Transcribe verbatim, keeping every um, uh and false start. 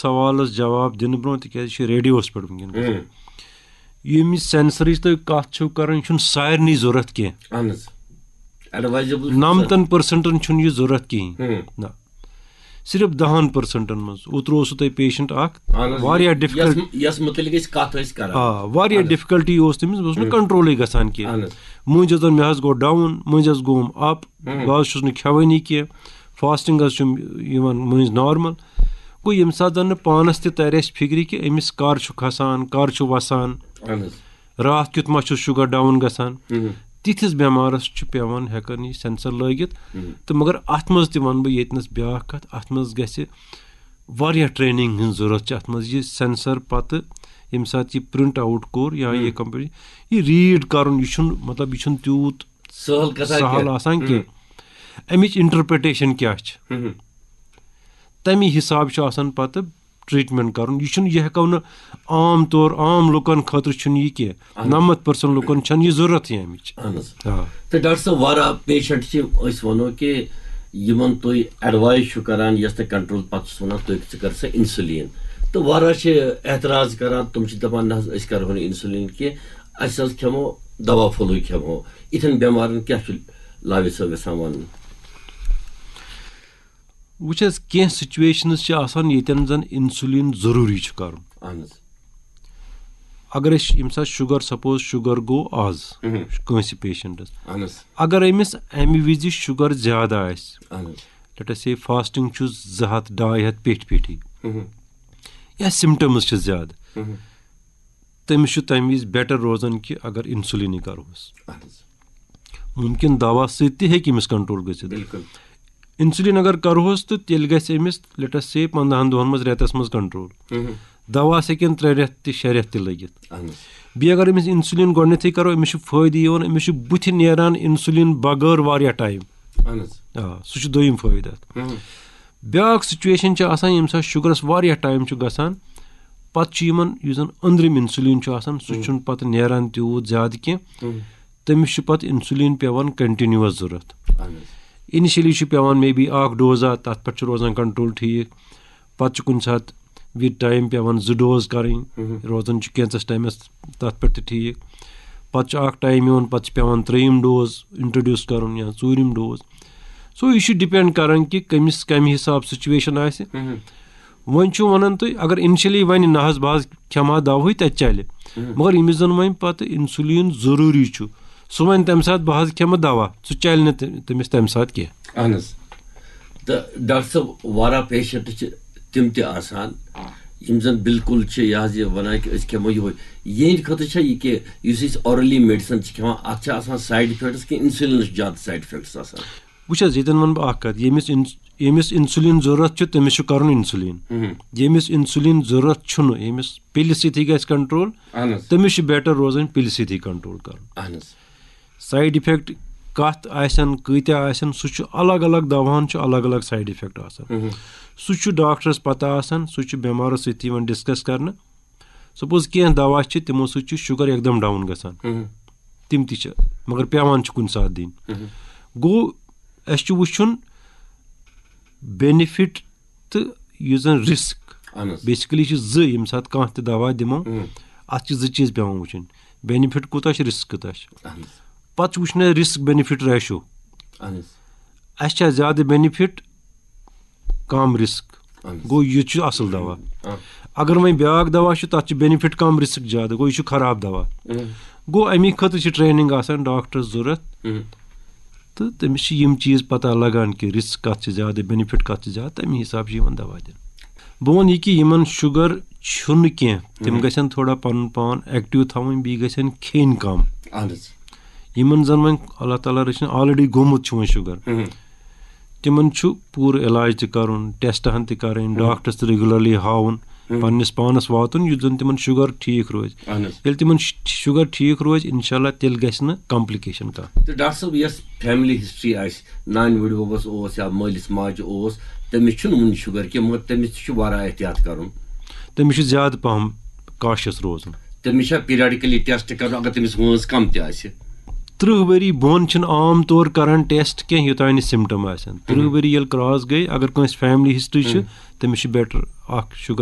سوالس جواب دِنہٕ برونٛہہ، تِکیازِ یہِ چھُ ریڈیوس پٮ۪ٹھ وٕنکیٚن گژھان۔ ہم۔ ییٚمہِ سینسرٕچ تُہۍ کتھ چھِو کران، یہِ چھُنہٕ سارنٕے ضروٗرت کینٛہہ۔ اہن حظ۔ ایڈوایزیبل نمتن پرسنٹن چھُنہٕ یہِ ضروٗرت کِہیٖنۍ۔ نہ، صرف دہن پرسنٹن منٛز۔ اوترٕ اوسوٕ تۄہہِ پیشنٹ اکھ، واریاہ ڈفکلٹ یس متعلق أسۍ کتھ ٲسۍ کران۔ آ، واریاہ ڈفکلٹی اوس تٔمِس، بہٕ اوسُس نہٕ کنٹرولٕے گژھان کینٛہہ۔ اہن حظ۔ مٔنٛزۍ حظ مےٚ حظ گوٚو ڈاوُن، مٔنٛزۍ حظ گوٚوُم اپ، بہٕ حظ چھُس نہٕ کھٮ۪وٲنی کینٛہہ، فاسٹنگ حظ چھُم یِوان مٔنٛزۍ نارمل۔ گوٚو ییٚمہِ ساتہٕ زن نہٕ پانس تہِ ترِ اَسہِ فِکرِ کہِ أمِس کر چھُ کھسان، کر چھُ وسان، اہن حظ۔ راتھ کیُتھ ما چھُس شُگر ڈاوُن گژھان، مہم۔ تِتھِس بٮ۪مارس چھُ پٮ۪وان ہٮ۪کان یہِ سینسر لٲگِتھ۔ مہم۔ تہٕ مگر اتھ منٛز تہِ ونہٕ بہٕ ییٚتنس بیٛاکھ کتھ، اتھ منٛز گژھِ واریاہ ٹریننگ ہٕنٛز ضروٗرت چھِ اتھ منٛز۔ یہِ سینسر پتہٕ ییٚمہِ ساتہٕ یہِ پرنٹ آوُٹ کوٚر یا یہِ کمپیوٹر، یہِ ریڈ کرُن، یہِ چھُنہٕ، مطلب، یہِ چھُنہٕ تیوٗت سہل کتھا سہل کینٛہہ۔ آسان کینٛہہ۔ امِچ انٹرپریٹیشن کیٛاہ چھِ؟ مہم۔ تمی حساب چھُ آسان پتہٕ ٹریٹمنٹ کرُن۔ یہِ چھُنہٕ، یہِ ہٮ۪کو نہٕ عام طور، عام لُکن خٲطرٕ چھُنہٕ یہِ کینٛہہ۔ نمتھ پرسنٹ لُکن چھنہٕ یہِ ضروٗرت یہِ امِچ۔ اہن حظ۔ آ۔ تہٕ ڈاکٹر صٲب، واریاہ پیشنٹ چھِ، أسۍ وَنو کہِ یِمن تُہۍ ایڈوایز چھِو کران، یۄس تۄہہِ کنٹرول پتہٕ چھُس وَنان، تُہۍ ژٕ کر سا انسولین۔ تہٕ واریاہ چھِ اعتراض کران، تِم چھِ دَپان، نہ حظ، أسۍ کرہو نہٕ انسولین کینٛہہ، اَسہِ حظ کھٮ۪مو دوا پھوٚلُے کھٮ۪مو۔ یِتھٮ۪ن بٮ۪مارن کیٛاہ چھُ لاوِ صٲب یژھان وَنُن؟ وٕچھ حظ، کینٛہہ سچویشنز چھِ آسان، ییٚتٮ۪ن زن انسولین ضروٗری چھُ کرُن۔ اہن حظ۔ اگر أسۍ ییٚمہِ ساتہٕ شُگر، سپوز شُگر گوٚو آز مہم۔ کٲنٛسہِ پیشنٹس، اہن حظ۔ اگر أمِس امہِ وِزِ شُگر زیادٕ آسہِ، اہن حظ۔ لیٹ اس سے فاسٹنگ چھُ زٕ ہتھ ڈاے ہتھ پیٚٹھۍ پیٚٹھی، مہم۔ یا سمٹمز چھِ زیادٕ، مہم۔ تٔمِس چھُ تمہِ وِزِ بیٹر روزان کہِ اگر انسولینٕے کرہوس۔ اہن حظ۔ ممکن دوا سۭتۍ تہِ ہیٚکہِ أمِس کنٹرول گٔژھِتھ۔ بِلکُل۔ انسولین اگر کرہوس تہٕ تیٚلہِ گژھِ أمِس، لیٹ اس سے، پندہن دۄہن منٛز، رٮ۪تس منٛز کنٹرول۔ مہم۔ دواہس ہیٚکن ترٛےٚ رٮ۪تھ تہِ، شےٚ رٮ۪تھ تہِ لٔگِتھ۔ اہن حظ۔ بیٚیہِ اگر أمِس انسولین گۄڈٕنیتھٕے کرو، أمِس چھُ فٲیدٕ یِوان، أمِس چھُ بُتھِ نیران انسولین بغٲر واریاہ ٹایم۔ اہن حظ۔ آ، سُہ چھُ دوٚیِم فٲیدٕ اتھ۔ مہم۔ بیٛاکھ سچویشن چھِ آسان، ییٚمہِ ساتہٕ شُگرس واریاہ ٹایم چھُ گژھان، پتہٕ چھُ یِمن یُس زن أنٛدرِم انسولین چھُ آسان، سُہ چھُنہٕ پتہٕ نیران تیوٗت زیادٕ کینٛہہ۔ مہم۔ تٔمِس چھُ پتہٕ انسولین پٮ۪وان کنٹِنیوس ضروٗرت۔ اہن حظ۔ انیشلی چھُ پٮ۪وان مے بی اکھ ڈوزا، تتھ پٮ۪ٹھ چھُ روزان کنٹرول ٹھیٖک۔ پتہٕ چھُ کُنہِ ساتہٕ وِد ٹایم پٮ۪وان زٕ ڈوز کرٕنۍ، مہم۔ روزان چھُ کینٛژس ٹایمس تتھ پٮ۪ٹھ تہِ ٹھیٖک۔ پتہٕ چھُ اکھ ٹایم یِوان، پتہٕ چھُ پٮ۪وان ترٛیٚیِم ڈوز انٹروڈیوس کرُن یا ژوٗرِم ڈوز۔ سو یہِ چھُ ڈِپینڈ کران کہِ کٔمِس کمہِ حساب سچویشن آسہِ۔ مہم۔ وۄنۍ چھُ ونان تُہۍ، اگر انیشلی ونہِ نہ حظ، بہٕ حظ کھٮ۪مہٕ ہا دوہٕے، تتہِ چلہِ۔ مہم۔ مگر ییٚمِس زن وۄنۍ پتہٕ انسولین ضروٗری چھُ، سُہ ونہِ تمہِ ساتہٕ، بہٕ حظ کھٮ۪مہٕ دوا، سُہ چلہِ نہٕ تہِ-، تٔمِس تمہِ ساتہٕ کینٛہہ۔ اہن حظ۔ تہٕ ڈاکٹر صٲب، واریاہ پیشنٹ چھِ تِم تہِ آسان، یِم زن بالکل چھِ یہِ حظ یہِ ونان کہِ أسۍ کھٮ۪مو یِہوٚے۔ یِہنٛدِ خٲطرٕ چھا یہِ کہِ یُس أسۍ اورلی میڈیسن چھِ کھٮ۪وان، اتھ چھا آسان سایڈ افیکٹس کِنہٕ انسولینس چھِ زیادٕ سایڈ افیکٹس آسان؟ وٕچھ حظ، ییٚتٮ۪ن ونہٕ بہٕ اکھ کتھ، ییٚمِس اِنس-، ییٚمِس انسولین ضروٗرت چھُ، تٔمِس چھُ کرُن انسولین۔ مہم۔ ییٚمِس انسولین ضروٗرت چھُنہٕ، ییٚمِس پِلہِ سۭتی گژھِ کنٹرول، اہن حظ۔ تٔمِس چھُ بیٹر روزان پِلہِ سۭتی کنٹرول کرُن۔ اہن حظ۔ سایڈ افیکٹ کتھ آسن، کۭتیاہ آسن، سُہ چھُ الگ الگ، دواہن چھُ الگ الگ سایڈ افیکٹ آسان۔ مہم۔ سُہ چھُ ڈاکٹرس پتہ آسان، سُہ چھُ بٮ۪مارس سۭتۍ یِوان ڈسکس کرنہٕ۔ سپوز کینٛہہ دوا چھِ، تِمو سۭتۍ چھُ شُگر یکدم ڈاوُن گژھان، مہم۔ تِم تہِ چھِ، مگر پٮ۪وان چھِ کُنہِ ساتہٕ دِنۍ۔ مہم۔ گوٚو، اسہِ چھُ وٕچھُن بینِفٹ تہٕ یُس زن رسک۔ اہن حظ۔ بیسکلی چھِ زٕ، ییٚمہِ ساتہٕ کانٛہہ تہِ دوا دِمو، مہم۔ اتھ چھِ زٕ چیٖز پٮ۪وان وٕچھِنۍ، بینِفٹ کوٗتاہ چھُ، رسک کوٗتاہ چھُ۔ اہن حظ۔ پتہٕ چھُ وٕچھُن اسہِ رسک بینِفٹ ریشو، اہن حظ۔ اسہِ چھا زیادٕ بینِفٹ، کم رسک۔ اہن حظ۔ گوٚو، یہِ تہِ چھُ اصل دوا۔ آ۔ اگر وۄنۍ بیٛاکھ دوا چھُ، تتھ چھُ بینِفٹ کم، رسک زیادٕ، گوٚو، یہِ چھُ خراب دوا۔ مہم۔ گوٚو، امی خٲطرٕ چھِ ٹریننگ آسان ڈاکٹرس ضروٗرت۔ مہم۔ تہٕ تٔمِس چھِ یِم چیٖز پتہ لگان کہِ رسک کتھ چھِ زیادٕ، بینِفٹ کتھ چھِ زیادٕ، تَمی حساب چھِ یِمن دوا دِنہٕ۔ بہٕ وَنہٕ یہِ کہِ یِمن شُگر چھُنہٕ کینٛہہ، تِم مہم۔ گژھن تھوڑا پنُن پان ایکٹیو تھاوٕنۍ، بیٚیہِ گژھن کھیٚنۍ کم۔ اہن حظ۔ یِمن زن وۄنۍ اللہ تعالیٰ رٔچھِنۍ آلریڈی گوٚمُت چھُ وۄنۍ شُگر، مہم۔ تِمن چھُ پوٗرٕ علاج تہِ کرُن، ٹیسٹ ہن تہِ کرٕنۍ، ڈاکٹرس تہِ ریگولرلی ہاوُن، مہم۔ پننِس پانس واتُن، یُتھ زن تِمن شُگر ٹھیٖک روزِ۔ اہن حظ۔ ییٚلہِ تِمن ش-، شُگر ٹھیٖک روزِ، انشاءاللہ تیٚلہِ گژھِ نہٕ کمپلیکیشن کانٛہہ۔ تہٕ ڈاکٹر صٲب، یۄس فیملی ہسٹری آسہِ، نانہِ بٕڈببس اوس یا مٲلِس ماجہِ اوس، تٔمِس چھُنہٕ وُنہِ شُگر کینٛہہ، مگر تٔمِس تہِ چھُ واریاہ احتیاط کرُن۔ تٔمِس چھُ زیادٕ پہم کاشس روزُن۔ تٔمِس چھا پیریڈکلی ٹیسٹ کرُن اگر تٔمِس وٲنٛس کم تہِ آسہِ؟ ترٕٛہ ؤری بۄن چھِنہٕ عام طور کران ٹیسٹ کینٛہہ یوٚتام نہٕ سمٹم آسن۔ ترٕٛہ ؤری ییٚلہِ کراس گٔے، اگر کٲنٛسہِ فیملی ہسٹری چھِ، تٔمِس چھُ بیٹر اکھ شُگر